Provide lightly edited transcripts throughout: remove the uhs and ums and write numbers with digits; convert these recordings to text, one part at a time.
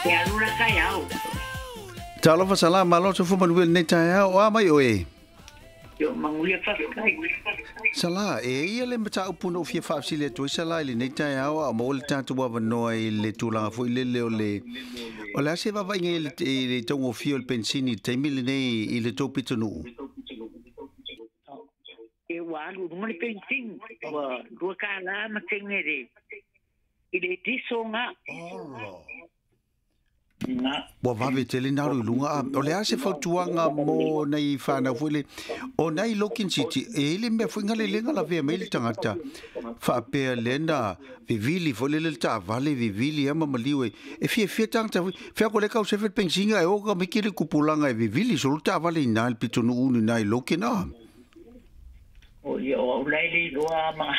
E alu la taeao. Talofa Sala, malo soifua manuia lenei taeao, o a mai oe? Yo manuia faafetai. Sala, e ia le mataupu na ou fia faafesili atu ai Sala i lenei taeao, a o maua le tatou avanoa i le tulaga foi lele o le o le a se vaavaaiga i le, i le taugofie o le penisini i le taimi lenei i le tou pitonuu? E ua alu i luga le penisini, ua $2 ma sene le i le diso ga. Olo. Ua vave tele na alu i luga. A o le a se fautuaga mo nai whanau foi le o nai Logan City e i le mea foi ngale lenga la vea mai le tagata faapea le na vivili foi le le taavale vivili ama maliu e e fiafia tagata foi fea ko le kau sefe pensinga e o ka miki le kupulanga e vivili solo taavale i nā le pitonuu ni nā i Logan a. O ia o au lai le iloa ma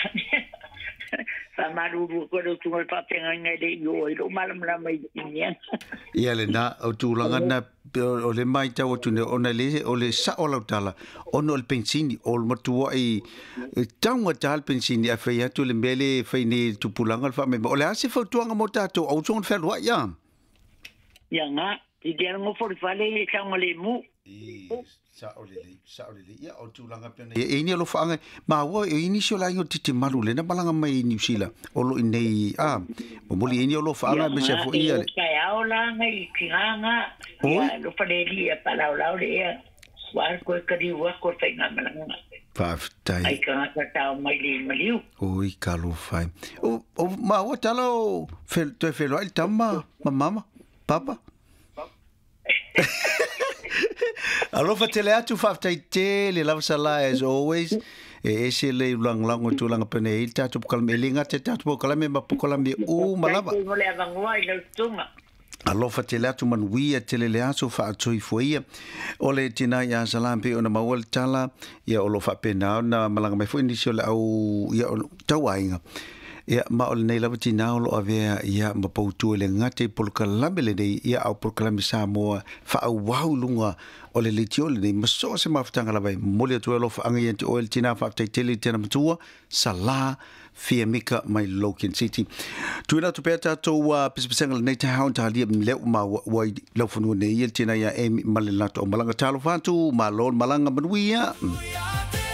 faamalulu atu ai lau susuga i le faafeagaiga e le i oo ai lou malamalama i iniana. Ia lena, o tulaga na o le matau atu nei, ona le, o le sao o lau tala, ona o le pensini, o le matuai taugata le pensini, ae fai atu le mea lea e fai nei e le tupulaga le faamema. O le a se fautuaga mo tatou, aua soona fealuai a? Ia ga, i te alogofo i le fale e saogalemu. Sao lelei, sao lelei. Ia, o tulaga pea nei. E ini alofaaga, maua e ini si o lainga o titimalu lena malaga mai i Niu Sila, o lo o i inei, a, momoli e ini alofaaga me se foi ia. Ia, taeao la ngai tigaga, ia alofa le alii ia paalaolao le ea, ua alu koe kaliu aku o le faigamalaga. Faafetai. Ai tagata tao mai le maliu. Oi, talofa e. O, o, maua tala o toe feloai le tama ma mama, papa. Alofa tele atu, faafetai tele lava Sala as always. E ese le lagolago i tulaga pene i le tatou polokalame. E le gata i le tatou polokalame ma polokalame uma lava. Faafetai mo le avanoa i lau susuga. Alofa tele atu, manuia tele le aso faatoifua ia. O le tina ia Sala pei ona maua le tala, ia o lo o faapena ona malaga mai foi nisi o le au, ia, o tauaiga. Ia, ma o lenei lava tinā o lo o avea ia ma poutu e le gata i polokalame lenei, ia a o polokalame Samoa faaauau i luga o le leitio lenei ma so o se mafutaga lava e momoli atu ai alofaaga ia te oe le tinā faafetai tele i tena matua Sala Fiamika mai Logan City. Tuuina atu pea tatou pesepesega lenei taeao i talia lea ua maua ua i laufanua nei ia le tinā ia Amy ma le latou malaga. Talofa atu, malo le malaga manuia.